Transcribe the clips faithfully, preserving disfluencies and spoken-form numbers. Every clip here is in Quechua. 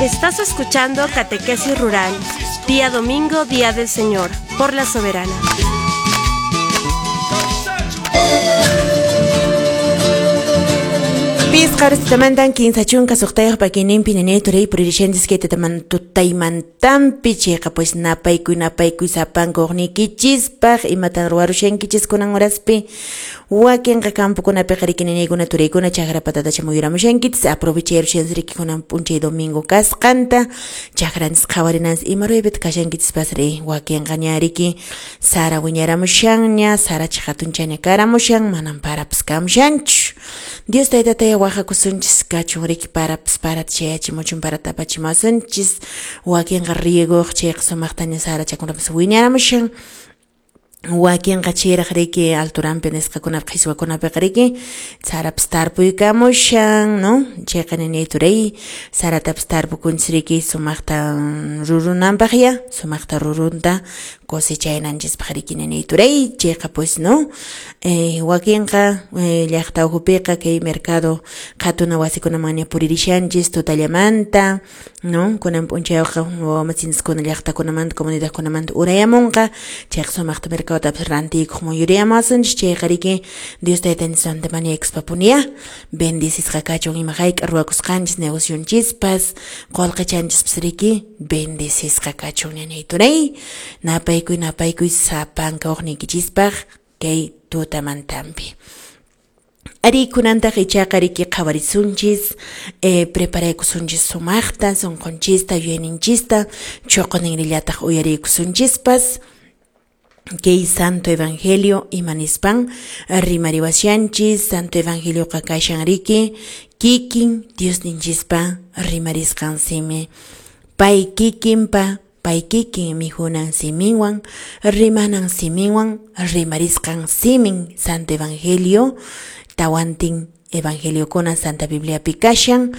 Estás escuchando Catequesis Rural, día domingo, día del Señor, por la Soberana. Pisqar tutamantan kinsa chunka suqtayuq pakininpi nanay turay puririshantsis kay tutaymantanpi chayqa pues napaykuy napaykuy sapanka uqniykichispaq imatan ruwarushankichis kunan horaspi wakinqa campokunapiqa riki nanaykuna turaykuna chakra patatacha muyuramushankichis aprovechayarushanchis riki kunan p'unchay domingo kasqanta chakranchis qhawarinanchis ima ruraypitaq kashankichispas ri wakinqa ña riki sara wiñaramushanña saracha hatunchaña karamushan manan parapas kamushanchu Dios taytataya wajakusunchis kachun riki parapas parata chayachimuchun parata apachimuwasunchis wakinqa rieguq chayqa sumaqtaña sarachakunapas wiñaramushan wakinqa chayraq riki alturanpi nisqakunapi qhichwakunapiqa riki sarapas tarpuykamushan, no? Chayqa nanay turay saratapas tarpukunchis riki sumaqta rurunanpaq ya sumaqta rurunta cosechananchispaq riki nanay turay chayqa pues no eh, wakinqa eh, llaqta ukhupiqa kay mercado qhatuna wasikunamanña puririshanchis tutallamanta, no? Kunan p'unchayqa wawamasinchiskuna llaqtakunamanta comunidadkunamanta urayamunqa chayqa sumaqta mercado rantiykuq muyuriyamuwasunchis chayqa riki Dios taytanchismanta mañaykuspapunya bendecisqa kachun ima hayk'a ruwakusqanchis negocionchispas qullqichanchispas riki bendecisqa kachun nanay turay napaykuy napaykuy sapanka uqniykichispaq kay tutamantanpi. Ari kunantaq ichaqa riki qhawarisunchis eh, preparaykusunchis sumaqta sunqunchista yuyayninchista chuqunninrillataq uyariykusunchispas kay Santo Evangelio imanispan rimariwashanchis Santo Evangelioqa kashan riki kikin Diosninchispa rimarisqan simi pay kikinpa pay kikin mihunan siminwan rimanan siminwan rimarisqan simin Santo Evangelio tawantin Evangeliokuna Santa Bibliapi kashan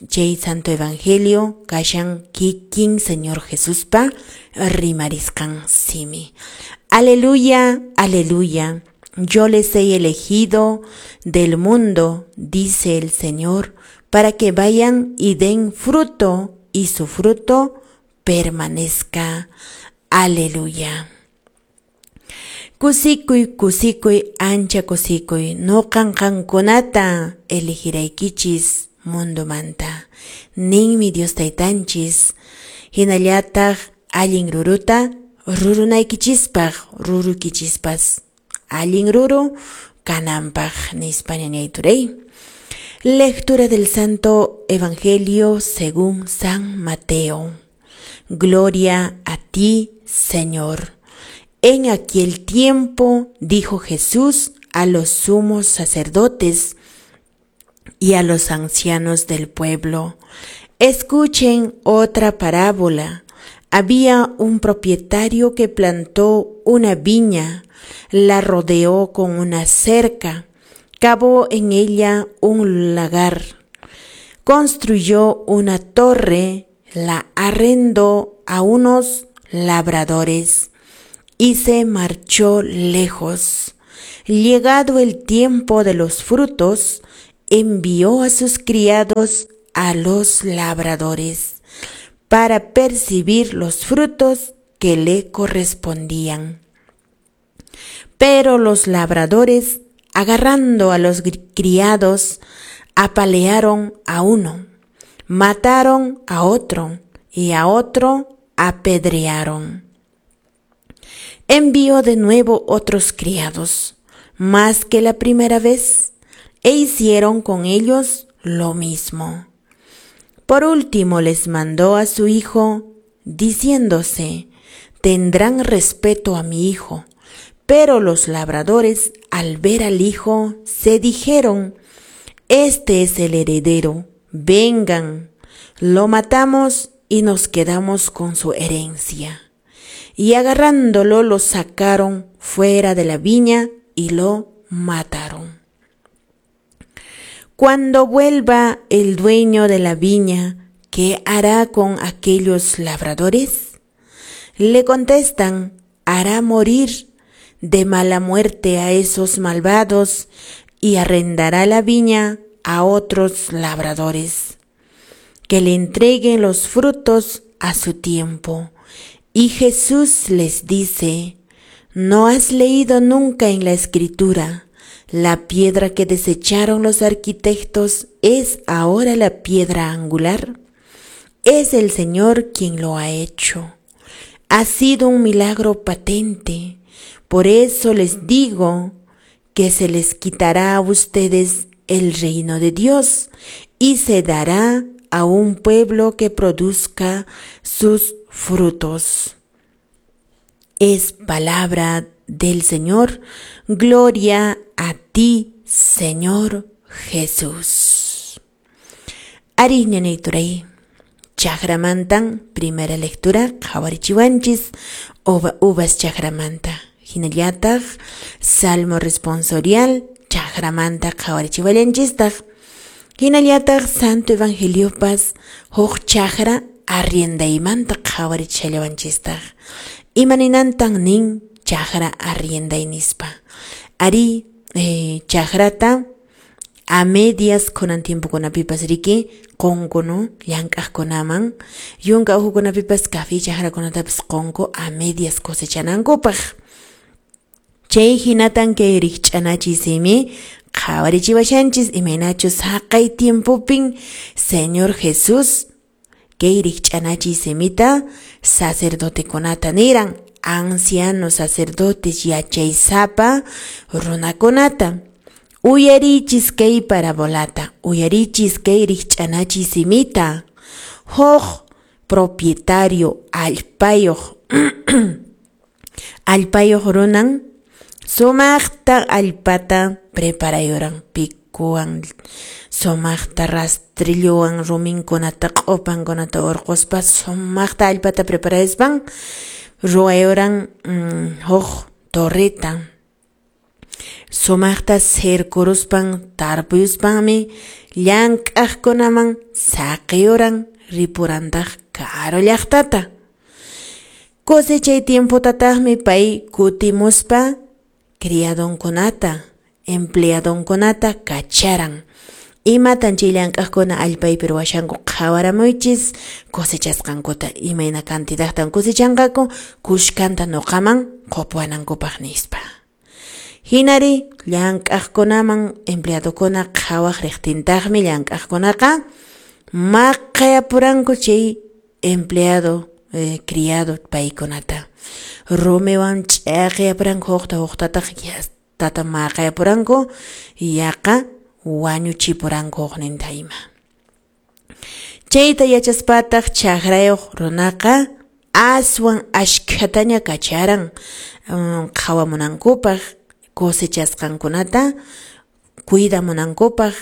chay Santo Evangelio kashan kikin Señor Jesuspa rimarisqan simi. Aleluya, aleluya. Yo les he elegido del mundo, dice el Señor, para que vayan y den fruto y su fruto permanezca. Aleluya. Kusikuy, kusikuy, ancha kusikuy, noqan qankunata elegiraykichis mundomanta. Ninmi Dios taytanchis, hinallataq allin ruruta rurunaykichispaq, rurukichispas allin ruru kananpaq nispa ñañay turay. Lectura del Santo Evangelio según San Mateo. Gloria a ti, Señor. En aquel tiempo dijo Jesús a los sumos sacerdotes y a los ancianos del pueblo: escuchen otra parábola. Había un propietario que plantó una viña, la rodeó con una cerca, cavó en ella un lagar, construyó una torre, la arrendó a unos labradores y se marchó lejos. Llegado el tiempo de los frutos, envió a sus criados a los labradores para percibir los frutos que le correspondían. Pero los labradores, agarrando a los criados, apalearon a uno, mataron a otro y a otro apedrearon. Envió de nuevo otros criados, más que la primera vez, e hicieron con ellos lo mismo. Por último les mandó a su hijo, diciéndose: tendrán respeto a mi hijo. Pero los labradores, al ver al hijo, se dijeron: este es el heredero, vengan, lo matamos y nos quedamos con su herencia. Y agarrándolo lo sacaron fuera de la viña y lo mataron. Cuando vuelva el dueño de la viña, ¿qué hará con aquellos labradores? Le contestan: hará morir de mala muerte a esos malvados y arrendará la viña a otros labradores. que le entreguen los frutos a su tiempo. Y Jesús les dice: ¿no has leído nunca en la Escritura? La piedra que desecharon los arquitectos es ahora la piedra angular. Es el Señor quien lo ha hecho. Ha sido un milagro patente. Por eso les digo que se les quitará a ustedes el reino de Dios y se dará a un pueblo que produzca sus frutos. Es palabra del Señor. Gloria a ti, Señor Jesús. Arí ñanayturay, chajramantan, primera lectura, qhawarichiwanchis, uva, uvas chajramanta. Hinallataq, salmo responsorial, chajramanta qhawarichiwallanchistaq. Hinallataq, santo evangeliopas, huk chajra arriendaymanta qhawarichillawanchistaq. Imaninantan nin chajra arrienday nispa. Ari eh, chajrata a medias kunan tiempokunapipas riki qunku, no? Llank'aqkunaman yunka uhukunapipas café chajrakunatapas qunku a medias cosechanankupaq. Chay hinatan kay rikch'anachiy simi qhawarichiwashanchis imaynachus haqay tiempopin Señor Jesús kay rikch'anachiy simita sacerdotekunata niran, ancianos sacerdotes yachaysapa runakunata. Uyarichis kay parabolata, uyarichis kay rikch'anachiy simita. Huk propietario allpayuq allpayuq runan sumaqta allpata preparayuran picuwan, sumaqta rastrillowan ruminkunata q'upankunata urquspa sumaqta allpata preparayuspan ruwayuran mm, huk torreta. Sumaqta cercoruspan tarpuyuspanmi llank'aqkunaman saqiyuran ripurantaq karu llaqtata. Cosechay tiempotataqmi pay kutimuspa criadonkunata, empleadonkunata kacharan. Imatan chay llank'aqkuna allpaypi ruwashanku qhawaramuychis cosechasqankuta, imayna cantidadtan cosechanqaku kushkanta nuqaman qupuwanankupaq nispa. Hinari llank'aqkunaman empleadokuna qhawaq riqtintaqmi llank'aqkunaqa maqayapuranku chay empleado eh, criado paykunata. Rumiwan ch'aqiyapuranku huqta huqtataq tata maqayapuranku yaqa wañuchipuranku hukninta ima. Chayta yachaspataq chaqrayuq runaqa aswan ashkhataña kacharan um, qhawamunankupaq cosechasqankunata cuidamunankupaq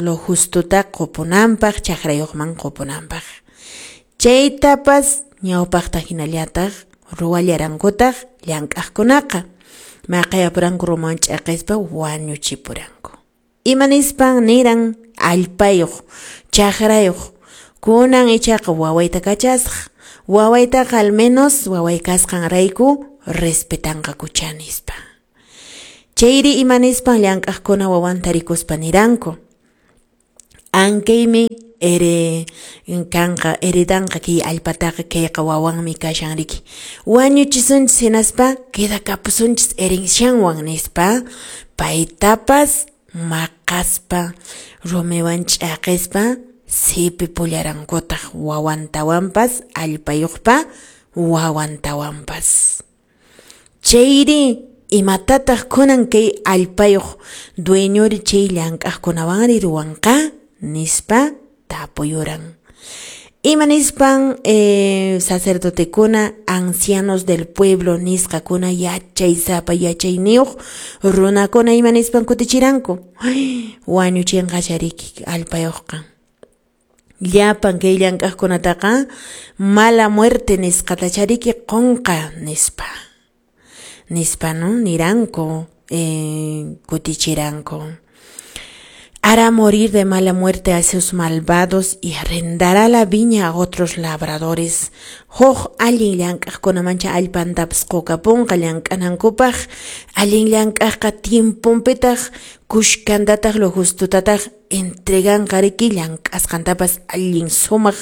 lo justuta qupunanpaq chaqrayuqman qupunanpaq. Chaytapas ñawpaqta hinallataq ruwallarankutaq llank'aqkunaqa maqayapuranku rumiwan ch'aqispa wañuchipuranku. Imanispan niran allpayuq chaqrayuq kunan ichaqa wawayta kachasaq, wawaytaqa al menos waway kasqanrayku respetanqakucha nispa. Chayri imanispan llank'aqkuna wawanta rikuspa niranku: ankaymi ere kanqa heredanqa kay allpataqa kayqa wawanmi kashan riki, wañuchisunchis hinaspa quedakapusunchis herencianwan nispa paytapas maqaspa rumiwan ch'aqispa sipipularankutaq wawantawanpas allpayuqpa wawantawanpas. Chayri imatataq kunan kay allpayuq dueñori chay llank'aqkunawanri ruwanqa nispa tapuyuran. Imanispan eh, sacerdotekuna ancianos del pueblo nisqakuna yachaysapa yachayniyuq runakuna imanispan kutichiranku: wañuchinqa chariki allpayuqqa. Llapan kay llank'aqkunataqa mala muerte nisqata chariki qunqa nispa. Nispa, no? Niranku, eh, kutichiranku. Hará morir de mala muerte a esos malvados y arrendará la viña a otros labradores. Huk allin llank'aqkunamancha allpantapas qukapunqa llank'anankupaq. Allin llank'aqqa tiemponpitaq kushkantataq lo justutataq entreganqa riki llank'asqantapas allin sumaq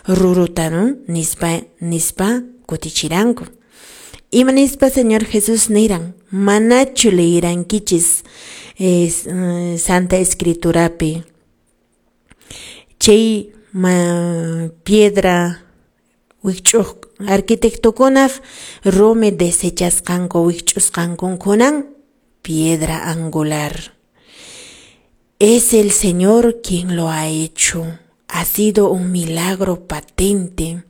ruruta, ¿no? Nispa, nispa kutichiranku. Ima nispa Señor Jesús niran, manachu leyirankichis es, uh, Santa Escriturapi chay ma, piedra wikch'uq arquitectokunaq rumi desechasqanku wikch'usqankunkunan piedra angular. Es el Señor quien lo ha hecho. Ha sido un milagro patente.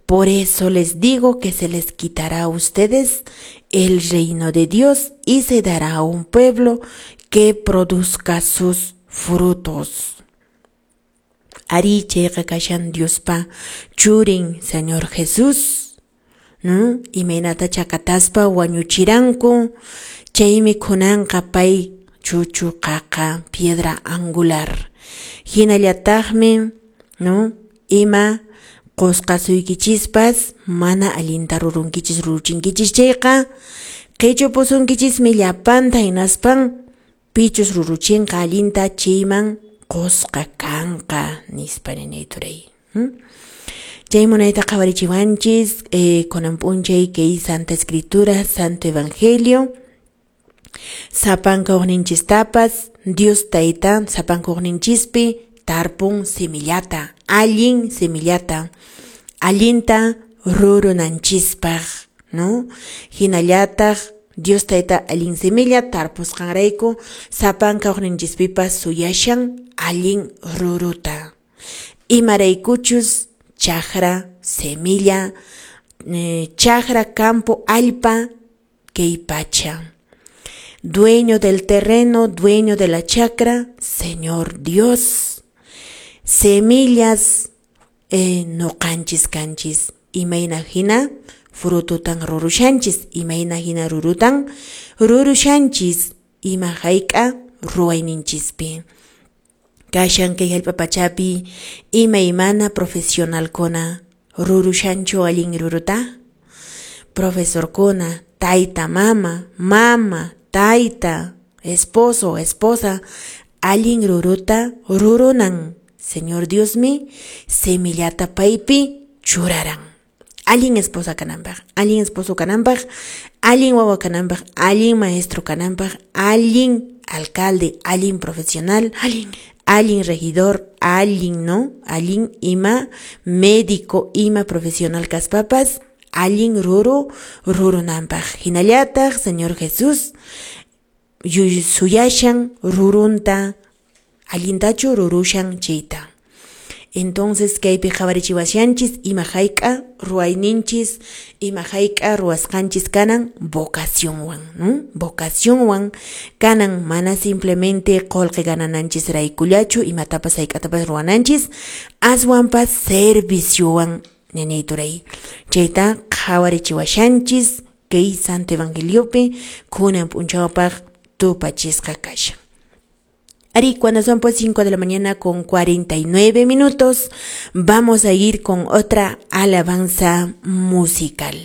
Por eso les digo que se les quitará a ustedes el reino de Dios y se dará a un pueblo que produzca sus frutos. Ari chayqa kashan Diospa churin Señor Jesús, ¿no? Imaynata chakataspa wañuchiranku, chaymi kunanqa pay chuchu qaqa piedra angular. Hinallataqmi, ¿no? Ima qusqasuykichispas mana allinta rurunkichis ruruchinkichis chayqa qichupusunkichismi llapanta hinaspan pichus ruruchinqa allinta chayman qusqa kanqa nispa ninay turay. Hmm? Chay munayta qhawarichiwanchis eh, kunan p'unchay kay Santa Escritura, Santo Evangelio, sapanka uqninchistapas Dios Tayta sapanka uqninchispi tarpun semillata, allin semillata, allinta rurunanchispaq, ¿no? Hinallataq Dios Tayta allin semilla tarpusqanrayku sapanka uqninchispipas suyashan allin ruruta. Imaraykuchus chakra, semilla, eh, chakra, campo, allpa, kay pacha. Dueño del terreno, dueño de la chacra, Señor Dios. Semillas eh, nuqanchis kanchis, imayna hina frututan rurushanchis, imayna hina rurutan rurushanchis, ima hayk'a ruwayninchispi. Kashan kay hallp'a pachapi imaymana profesionalkuna rurushanchu allin ruruta? Profesorkuna, tayta mama, mama, tayta, esposo, esposa, allin ruruta rurunan. Señor Diosmi semillata paypi churaran. Allin esposa kananpaq, allin esposo kananpaq, allin wawa kananpaq, allin maestro kananpaq, allin alcalde, allin profesional, allin, allin regidor, allin, ¿no? Allin ima médico, ima profesional kaspapas, allin ruru rurunanpaq. Hinallataq Señor Jesús suyashan rurunta, allintachu rurushan chayta. Entonces kaypi qhawarichiwashanchis ima hayk'a ruwayninchis, ima hayk'a ruwasqanchis kanan vocacionwan, ¿no? Vocacionwan kanan, mana simplemente qullqi ganananchis raykullachu imatapas hayk'atapas ruwananchis, aswanpas serviciowan ñañay turay. Chayta qhawarichiwashanchis kay Santo Evangeliopi kunan p'unchawpaq tupachisqa kashan. Ari, cuando son pues cinco de la mañana con cuarenta y nueve minutos, vamos a ir con otra alabanza musical.